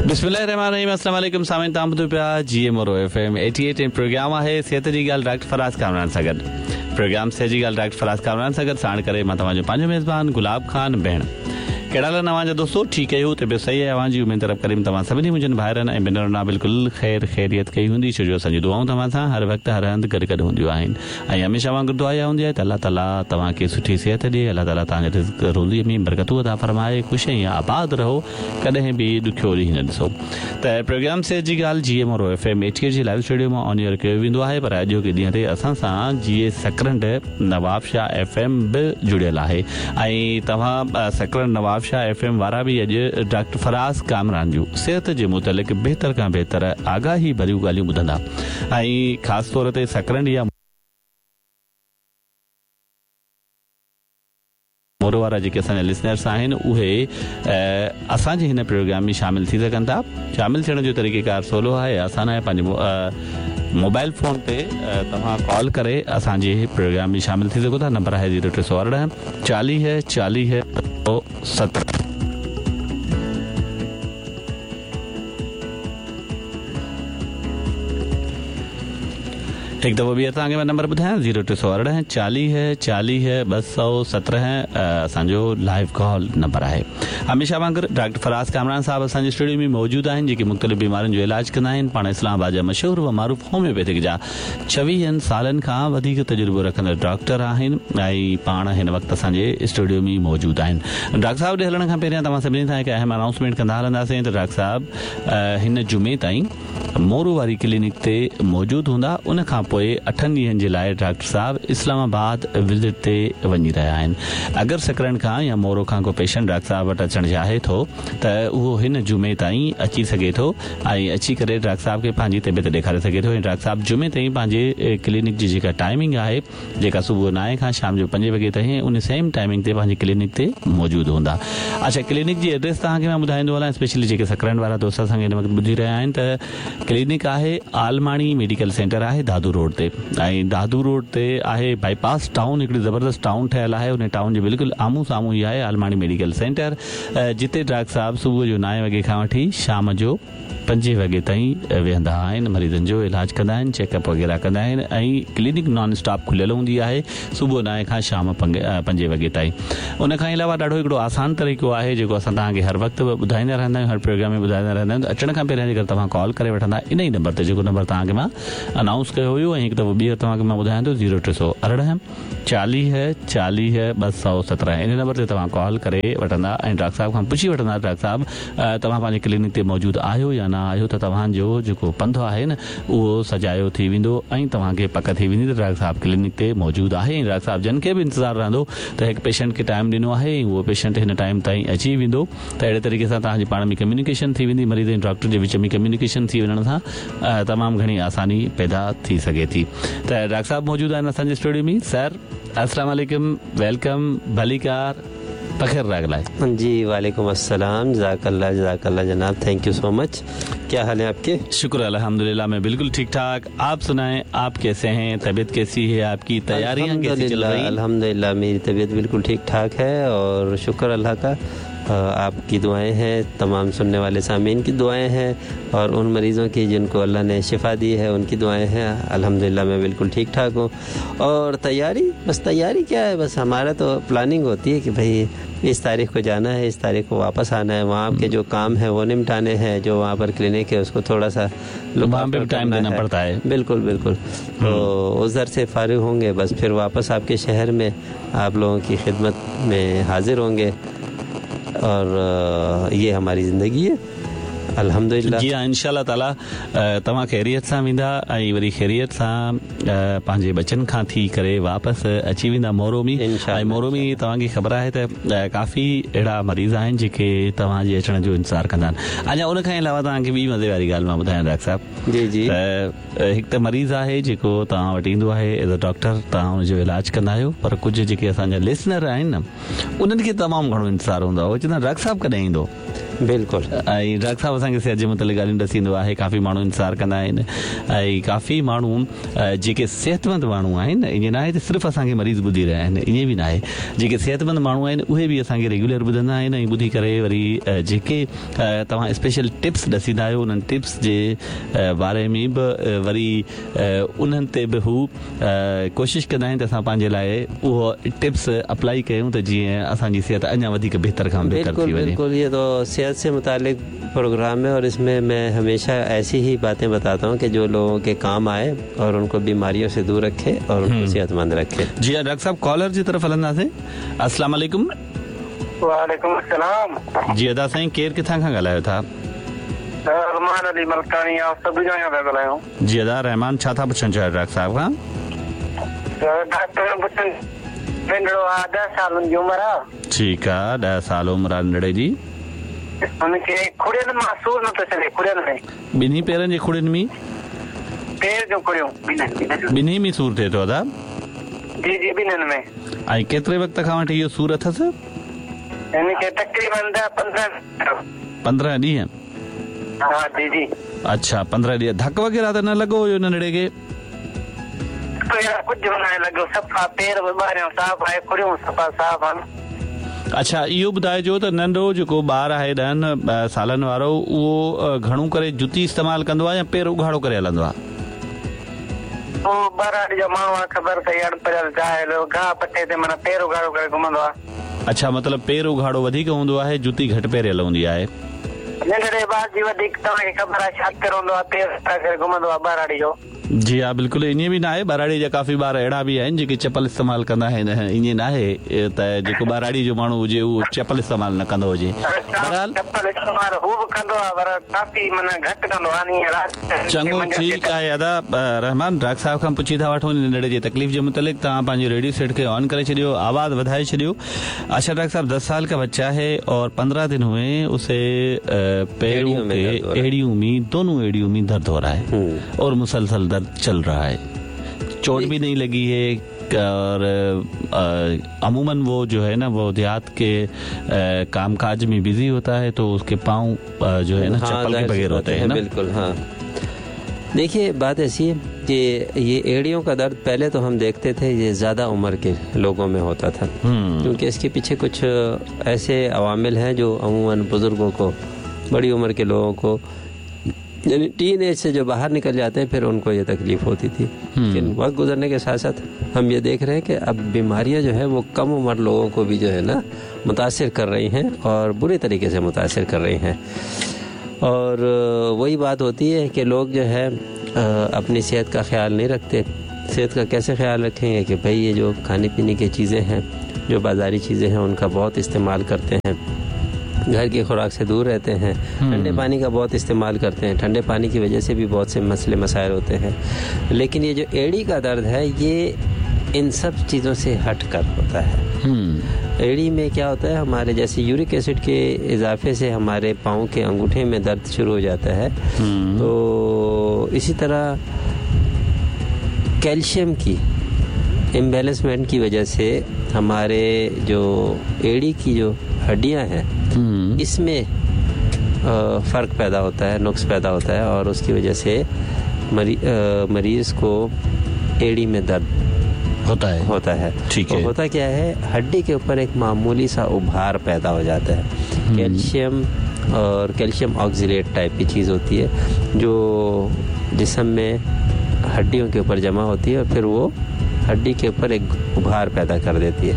بسم الله الرحمن الرحيم السلام عليڪم سامعين توهان ٻڌو پيا جي ايم مورو ايف ايم 88 ۽ پروگرام آهي صحت جي ڳالهه ڊاڪٽر فراز ڪامران سان گڏ پروگرام صحت جي ڳالهه ڊاڪٽر فراز ڪامران سان گڏ ساڻ ڪري مان توهان جو پنهنجو ميزبان گلاب خان بهڻ ڪهڙا حال آهن اوهان جا دوستو ٺيڪ آهيو طبيعت صحيح آهي اوهان جي اميد رب ڪريم توهان سڀني منهنجن ڀائرن ۽ ڀينرن لاء بلڪل خير خيريت ڪئي هوندي ڇو جو اسان جون دعائون توهان سان هر وقت هر هنڌ گڏ گڏ هونديون آهن ۽ هميشه وانگر دعا اها هوندي آهي ته الله تعالي توهان کي سٺي صحت ڏي، الله تعالي توهان جي رزق روزيء ۾ برڪتون عطا فرمائي، خوش ۽ آباد رهو، ڪڏهن به ڏکيو ڏينهن نه ڏسو. ته پروگرام صحت جي ڳالهه جي اي مورو ايف ايم 88 جي لائيو اسٽوڊيو مان آن ايئر ڪيو ويندو آهي پر اڄوڪي ڏينهن تي اسان سان جي اي سڪرنڊ نوابشاهه ايف ايم به جڙيل آهي ۽ توهان سڪرنڊ نوابشاهه ايف ايم وارا به اڄ ڊاڪٽر فراز ڪامران جون صحت جي متعلق بهتر کان بهتر آگاهي ڀريون ڳالهيون ٻڌندا. ۽ خاص طور تي سڪرنڊ يا مورو وارا جيڪي اسان جا لسنرس آهن اهي اسان جي هن پروگرام ۾ شامل ٿي سگهن ٿا شامل ٿيڻ جو طريقه ڪار سولو آهي آسان آهي پنهنجي موبائل فون تي توهان ڪال ڪري اسان جي پروگرام ۾ شامل ٿي سگهو ٿا نمبر آهي زيرو 318 40 40 17. هڪ دفعو ٻيهر توهان کي مان نمبر ٻڌايان زيرو 318 40 40 217 اسان جو لائيو ڪال نمبر آهي هميشه وانگر ڊاڪٽر فراز ڪامران صاحب اسان جي اسٽوڊيو ۾ موجود آهن جيڪي مختلف بيمارين جو علاج ڪندا آهن پاڻ اسلام آباد جا مشهور و معروف هوميوپيٿڪ جا ڇويهن سالن کان وڌيڪ تجربو رکندڙ ڊاڪٽر آهن ۽ پاڻ هن وقت اسان جي اسٽوڊيو ۾ موجود آهن ڊاڪٽر صاحب ڏي هلڻ کان پهريان توهان سڀني سان هڪ اهم انائونسمينٽ ڪندا هلنداسين ته ڊاڪٽر صاحب هن جمعي تائين مورو واري ڪلينڪ تي موجود هوندا ان کان پوء اٺن ڏينهن جي لاء ڊاڪٽر صاحب اسلام آباد وزٽ تي وڃي رهيا آهن اگر سڪرنڊ کان يا مورو کان ڪو پيشنٽ ڊاڪٽر صاحب وٽ اچڻ چاهي ٿو ته اهو هن جمعي تائين اچي سگهي ٿو ۽ اچي ڪري ڊاڪٽر صاحب کي پنهنجي طبيعت ڏيکاري سگهي ٿو ۽ ڊاڪٽر صاحب جمعي تائين پنهنجي ڪلينڪ جي جيڪا ٽائمنگ آهي جيڪا صبح نائين کان شام جو پنجين وڳي تائين ان سيم ٽائمنگ تي پنهنجي ڪلينڪ تي موجود هوندا. اڇا ڪلينڪ جي ايڊريس توهان کي مان ٻڌائيندو هلان اسپيشلي جيڪي سڪرنڊ وارا دوست اسان کي هن وقت ٻڌي رهيا آهن ته ڪلينڪ آهي عالماڻي ميڊيڪل سينٽر آهي دادو روڊ تي ۽ دادو روڊ تي آهي بائي پاس ٽائون هڪڙي زبردست ٽائون ٺهيل آهي ان ٽائون جي بلڪل آمهون سامهون ئي آهي عالماڻي ميڊيڪل سينٽر جتي ڊاڪٽر صاحب صبح جو نائين وڳي کان وٺي شام جو پنجين وڳي تائين ويهندا آهن، مريضن جو علاج ڪندا آهن، چيڪ اپ وغيره ڪندا آهن ۽ ڪلينڪ نان اسٽاپ کليل هوندي آهي صبح نائين کان شام پنجين وڳي تائين. ان کان علاوه ڏاڍو هڪڙو آسان طريقو آهي جيڪو اسان توهان کي هر وقت ٻڌائيندا رهندا آهيون هر پروگرام ۾ ٻڌائيندا رهندا آهيون ته اچڻ کان پهريان جيڪر توهان ڪال ڪري وٺندا ان ئي نمبر تي جيڪو نمبر توهان کي مان انائونس ڪيو هيو ۽ هڪ دفعو ٻيهر توهان کي مان ٻڌايان ٿو زيرو 318 40 40 217 ان نمبر تي توهان ڪال ڪري وٺندا ۽ ڊاڪٽر صاحب کان پڇي وٺندا ڊاڪٽر صاحب توهان پنهنجي ڪلينڪ تي موجود آهيو يا نه آهيو ته توهان جو جيڪو پنڌ آهي نه اهو سجايو ٿي ويندو ۽ توهان کي پڪ ٿي ويندي ته ڊاڪٽر صاحب ڪلينڪ تي موجود آهي ۽ ڊاڪٽر صاحب جن کي به انتظار رهندو ته هڪ پيشنٽ کي ٽائيم ڏنو آهي ۽ اهو پيشنٽ هن ٽائيم تائين اچي ويندو ته اهڙي طريقي سان توهان جي پاڻ ۾ ڪميونيڪيشن ٿي ويندي مريض ۽ ڊاڪٽر جي وچ ۾ ڪميونيڪيشن ٿي وڃڻ سان تمام گهڻي آساني پيدا ٿي سگهي ٿي ته ڊاڪٽر صاحب موجود آهن اسان جي اسٽوڊيو ۾ سر السلام عليڪم welcome ڀليڪار بخير راغلائي. جي وعليڪم السلام جزاڪ الله جزاڪ الله جناب thank you سو مچ ڪيا حال هي آپ ڪي. شڪر الحمدلله مين بلڪل ٺيڪ ٺاڪ آپ سنائين آپ ڪيسي هين طبيعت ڪيسي هي آپ ڪي تياريان ڪيسي چل رهي. الحمدلله ميري طبيعت بلڪل ٺيڪ ٺاڪ هي اور شڪر الله ڪا آپ ڪي دعائين هين تمام سنني والي سامعين ڪي دعائين هين اور ان مريضون ڪي جن ڪو الله ني شفا the هي ان ڪي دعائين هين الحمدلله مين بلڪل ٺيڪ ٺاڪ هون اور تياري بس تياري ڪيا هي بس همارا تو پلاننگ هوتي هي ڪي ڀئي اس تاريخ ڪو جانا هي اس تاريخ ڪو واپس آنا هي وهان ڪي جو ڪام هي وو نمٽاني هين جو وهان پر ڪلينڪ هي اس ڪو ٿوڙا سا لڪ وهان پي ڀي ٽائيم دينا پڙتا هي بلڪل بلڪل تو ادهر سي فارغ هونگي بس ڦر واپس آپ ڪي شهر مين آپ لوگون ڪي خدمت مين حاضر هونگي اور يه هماري زندگي هي الحمدلله. جي ها انشاء الله تعالي توهان خيريت سان ويندا ۽ وري خيريت سان پنهنجي ٻچن کان ٿي ڪري واپس اچي ويندا مورو ۾ ۽ مورو ۾ توهان کي خبر آهي ته ڪافي اهڙا مريض آهن جيڪي توهان جي اچڻ جو انتظار ڪندا آهن اڃا ان کان علاوه توهان کي ٻي مزي واري ڳالهه مان ٻڌايان ڊاڪٽر صاحب جي جي ته هڪ ته مريض آهي جيڪو توهان وٽ ايندو آهي ايز ا ڊاڪٽر توهان ان جو علاج ڪندا آهيو پر ڪجهه جيڪي اسان جا لسنر آهن نه انهن کي تمام گهڻو انتظار هوندو آهي اهي چوندا آهن ڊاڪٽر صاحب ڪڏهن ايندو. बिल्कुलु। ऐं डॉक्टर साहिबु असांखे सिहत जे मुतालिक़ ॻाल्हियूं ॾसींदो आहे। काफ़ी माण्हू इंतज़ारु कंदा आहिनि ऐं काफ़ी माण्हू जेके सिहतमंद माण्हू आहिनि, ईअं न आहे त सिर्फ़ु असांखे मरीज़ ॿुधी रहिया आहिनि, ईअं बि न आहे। जेके सिहतमंद माण्हू आहिनि उहे बि असांखे रेगुलर ॿुधंदा आहिनि ऐं ॿुधी करे वरी जेके तव्हां स्पेशल टिप्स ॾसींदा आहियो उन्हनि टिप्स जे बारे में बि वरी उन्हनि ते बि हू कोशिशि कंदा आहिनि त असां पंहिंजे लाइ उहो टिप्स अप्लाई कयूं त जीअं असांजी सिहत अञा वधीक बहितर खां बहितर थी वञे। बिल्कुल, ये तो सेहत से मुतालिक प्रोग्राम है और इसमें मैं हमेशा ऐसी ही बातें बताता हूँ कि जो लोगों के काम आए और उनको बीमारियों से दूर रखे और उनको सेहतमंद रखे। जी हाँ डॉक्टर साहब, कॉलर जी तरफ़ हलंदासीं। अस्सलाम वालेकुम। वालेकुम अस्सलाम। जी अदा साईं, केरु किथां खां ॻाल्हायो था? रहमान अली मलकानी, आप सभु जा पिया ॻाल्हायूं। जी अदा रहमान, छा था पुछणु चाहियो डॉक्टर साहब खां? डॉक्टर पुछणु, नंढड़ो आहे, 10 सालनि जी उमिरि आहे। ठीकु आहे, 10 साल उमिरि आहे नंढड़े जी। हुनखे खुड़ियुनि मां सूर नथो छॾे, खुड़ियुनि में। ॿिन्ही पेरनि जे खुड़ियुनि में? पेर जूं खुड़ियूं ॿिन्ही में सूर थिए थो अदा? जी जी, ॿिन्हिनि में। ऐं केतिरे वक़्त खां वठी इहो सूर अथसि? हिनखे तक़रीबन 10-15 ॾींहं। हा जी जी। अच्छा, 15 ॾींहं। धक वग़ैरह त न लॻो हुयो नंढड़े खे? कुझु न लॻो, सफ़ा पेर बि ॿाहिरियां साफ़ आहे, खुड़ियूं सफ़ा साफ़ आहिनि। अच्छा, इहो ॿुधाइजो त नंढो जेको ॿार आहे 10 सालनि वारो, उहो घणो करे जुती इस्तेमालु कंदो आहे या पेर उघाड़ो करे हलंदो आहे? उहो ॿारहाड़ी जो माण्हू आहे, ख़बर अथई, अणपढ़ियल जाहिल, घाह पटे ते माना पेर उघाड़ो करे घुमंदो आहे। अच्छा, मतिलबु पेर उघाड़ो वधीक हूंदो आहे, जुती घटि पहिरियल हूंदी आहे। नंढड़े ॿार जी वधीक तव्हांखे ख़बर आहे, शातिर हूंदो आहे, पेर करे घुमंदो आहे ॿारहाड़ी जो। जी हा बिल्कुलु, ईअं बि न आहे, ॿारहाड़ी जा काफ़ी ॿार अहिड़ा बि आहिनि जेके चपल इस्तेमालु कंदा आहिनि, ईअं न आहे त जेको ॿारहाड़ी जो माण्हू हुजे उहो चपल इस्तेमालु न कंदो हुजे। बहरहाल चपल इस्तेमालु हू बि कंदो आहे पर काफ़ी माना घटि कंदो आहे। चङो ठीकु आहे अदा रहमान, डॉक्टर साहिब खां पुछी था वठूं नंढड़े जी तकलीफ़ जे मुतालिक़। तव्हां पंहिंजे रेडियो सेट खे ऑन करे छॾियो, आवाज़ वधाए छॾियो। अच्छा डॉक्टर साहब, 10 साल का बच्चा है और 15 दिन हुए उसे पैरों के एड़ियों में, दोनों एड़ियों में दर्द हो रहा है और मुसलसल दर्द चल रहा है, चोट भी नहीं लगी है और अमूमन वो जो है ना वो देहात के कामकाज में बिजी होता है तो उसके पाँव जो है ना चप्पल के बगैर होते हैं ना। बिल्कुल हाँ, देखिए बात ऐसी है कि ये एड़ियों का दर्द पहले तो हम देखते थे ये ज़्यादा उम्र के लोगों में होता था, क्योंकि इसके पीछे कुछ ऐसे अवामिल हैं जो अमूमन बुज़ुर्गों को, बड़ी उम्र के लोगों को, यानी टीन एज से जो बाहर निकल जाते हैं फिर उनको ये तकलीफ़ होती थी। लेकिन वक्त गुजरने के साथ साथ हम ये देख रहे हैं कि अब बीमारियां जो है वो कम उम्र लोगों को भी जो है ना मुतासिर कर रही हैं और बुरे तरीके से मुतासिर कर रही हैं। और वही बात होती है कि लोग जो है अपनी सेहत का ख्याल नहीं रखते। सेहत का कैसे ख्याल रखेंगे कि भाई ये जो खाने पीने की चीज़ें हैं, जो बाज़ारी चीज़ें हैं, उनका बहुत इस्तेमाल करते हैं, घर की खुराक से दूर रहते हैं, ठंडे पानी का बहुत इस्तेमाल करते हैं, ठंडे पानी की वजह से भी बहुत से मसले मसाइल होते हैं। लेकिन ये जो एड़ी का दर्द है ये इन सब चीज़ों से हट कर होता है। एड़ी में क्या होता है, हमारे जैसे यूरिक एसिड के इजाफे से हमारे पाँव के अंगूठे में दर्द शुरू हो जाता है, तो इसी तरह कैल्शियम की इम्बेलेंसमेंट की वजह से हमारे जो एड़ी की जो हड्डियां हैं इसमें फ़र्क पैदा होता है, नुक्स पैदा होता है और उसकी वजह से मरीज़ को एड़ी में दर्द होता है। ठीक है। होता क्या है, हड्डी के ऊपर एक मामूली सा उभार पैदा हो जाता है। कैल्शियम और कैल्शियम ऑक्सीलेट टाइप की चीज़ होती है जो जिस्म में हड्डियों के ऊपर जमा होती है और फिर वो हड्डी के ऊपर एक उभार पैदा कर देती है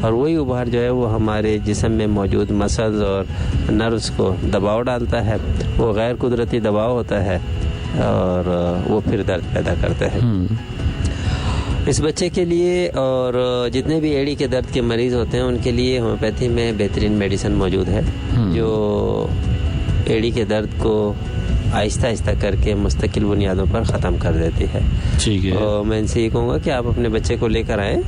और वही उभार जो है वो हमारे जिस्म में मौजूद मसल्स और नर्व्स को दबाव डालता है, वो गैर कुदरती दबाव होता है और वो फिर दर्द पैदा करता है। इस बच्चे के लिए और जितने भी एड़ी के दर्द के मरीज़ होते हैं उनके लिए होम्योपैथी में बेहतरीन मेडिसिन मौजूद है जो एड़ी के दर्द को आहिस्ता आहिस्ता करके मुस्तकिल बुनियादों पर ख़त्म कर देती है। ठीक है। और मैं इनसे ये कहूँगा कि आप अपने बच्चे को लेकर आएँ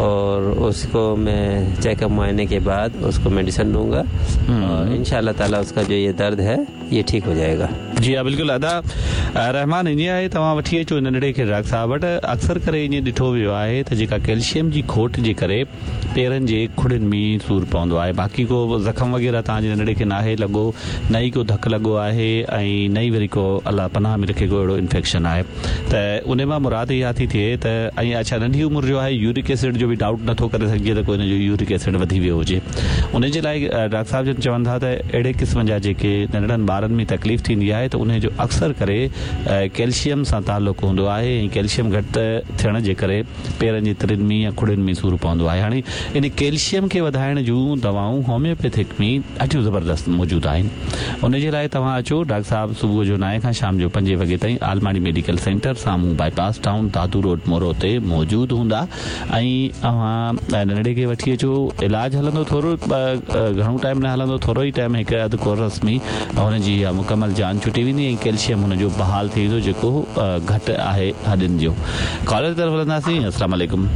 और उसको मैं चेकअप मुआयने के बाद उसको मेडिसिन दूंगा और इंशाअल्लाह ताला उसका जो ये दर्द है ये ठीक हो जाएगा। जी हा बिल्कुल अदा रहमान ईअं आहे तव्हां वठी अचो नंढड़े खे डॉक्टर साहब वटि। अक्सर करे ईअं ॾिठो वियो आहे त जेका कैल्शियम जी खोट जे करे पेरनि जे खुड़ियुनि में सूर पवंदो आहे। बाक़ी को ज़ख़म वग़ैरह तव्हांजे नंढड़े खे नाहे लॻो, न ई को धक लॻो आहे ऐं न ई वरी को अलाह पनाह में रखे को अहिड़ो इन्फेक्शन आहे। त उन मां मुराद इहा थी थिए त ऐं अच्छा नंढी उमिरि जो आहे, यूरिक एसिड जो बि डाउट नथो करे सघिजे त को हिन जो यूरिक एसिड वधी वियो हुजे। उन जे लाइ डॉक्टर साहिब जन चवनि था त अहिड़े क़िस्म जा जेके नंढड़नि ॿारनि में तकलीफ़ थींदी आहे त उन जो अक्सर करे कैल्शियम सां तालुक़ हूंदो आहे ऐं कैल्शियम घटि थियण जे करे पेरनि जी तिरियुनि में या खुड़ियुनि में सूर पवंदो आहे। हाणे इन कैल्शियम खे वधाइण जूं दवाऊं होम्योपैथिक में ॾाढियूं ज़बरदस्त मौजूदु आहिनि। उन जे लाइ तव्हां अचो, डॉक्टर साहिब सुबुह जो 9 खां शाम जो 5 वॻे ताईं आलमाणी मेडिकल सेंटर साम्हूं बाईपास टाउन दादू रोड मोरो ते मौजूदु हूंदा ऐं तव्हां नंढड़े खे वठी अचो। इलाज हलंदो थोरो, घणो टाइम न हलंदो, थोरो ई टाइम हिकु अधु कोर्स में हुनजी इहा मुकमल जान छुटी वेंदी ऐं कैल्शियम हुनजो बहाल थी वेंदो जेको घटि आहे हॾियुनि जो। कॉलर तरफ़ हलंदासीं। अस्सलाम वालेकुम।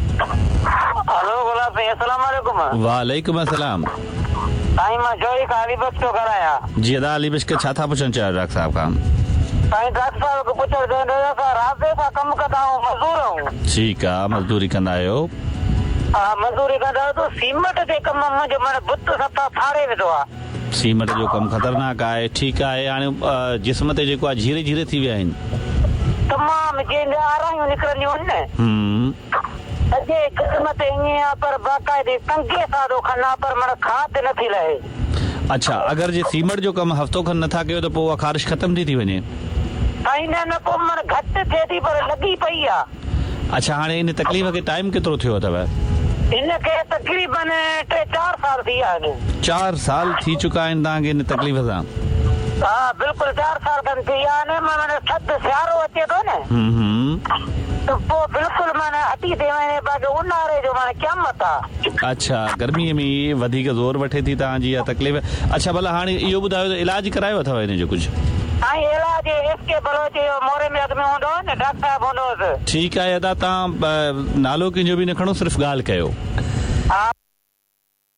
हेलो गुलाब साईं, अस्सलाम वालेकुम। वालेकुम अस्सलाम। साईं मां जोई खां अली बख्श थो ॻाल्हायां। जी अदा अली बख्श, छा था पुछणु चाहियो डॉक्टर साहिब खां? साईं डॉक्टर साहिब खे पुछणु चाहींदो असां राबे सां कमु कंदा आहियूं, मज़दूर आहियूं। ठीकु आहे, मज़दूरी कंदा आहियो? हा मज़दूरी कंदा आहियूं। त सीमट जे कम मुंहिंजो माना बुत सफ़ा फाड़े विधो आहे। सीमट जो कमु ख़तरनाक आहे। ठीकु आहे, हाणे जिस्म ते जेको आहे झीरे झीरे थी विया आहिनि तमामु, जंहिंजा आरायूं निकिरंदियूं आहिनि न सॼे जिस्म ते ईअं आहे, पर बाक़ाइदे कंघे सां थो खणा, पर माना खाद नथी लहे। अच्छा, अगरि जे सीमट जो कमु हफ़्तो खनि नथा कयो त पोइ उहा ख़ारिश ख़तमु थी थी वञे? साईं न न, पोइ माना घटि थिए थी पर लॻी पई आहे। अच्छा, हाणे इन तकलीफ़ खे टाइम केतिरो थियो अथव? हिन खे तक़रीबन 3-4 साल थी विया आहिनि। 4 साल थी चुका आहिनि तव्हांखे इन तकलीफ़ सां? हा बिल्कुलु 4 साल खनि थी विया आहिनि। माना थधि सियारो अचे थो न त पोइ बिल्कुलु माना हटी थी वञे, बाक़ी उन्हारे जो माना क़यामत आहे। अच्छा, गर्मीअ में वधीक ज़ोर वठे थी तव्हांजी इहा तकलीफ़। अच्छा भला हाणे इहो ॿुधायो त इलाज करायो अथव हिन जो कुझु? साईं इलाज एस के बलोच जो मोरे में अॻु में हूंदो हो न, डॉक्टर साहिब हूंदो हुउसि। ठीकु आहे अदा, तव्हां नालो कंहिंजो बि न खणो, सिर्फ़ ॻाल्हि कयो। हा।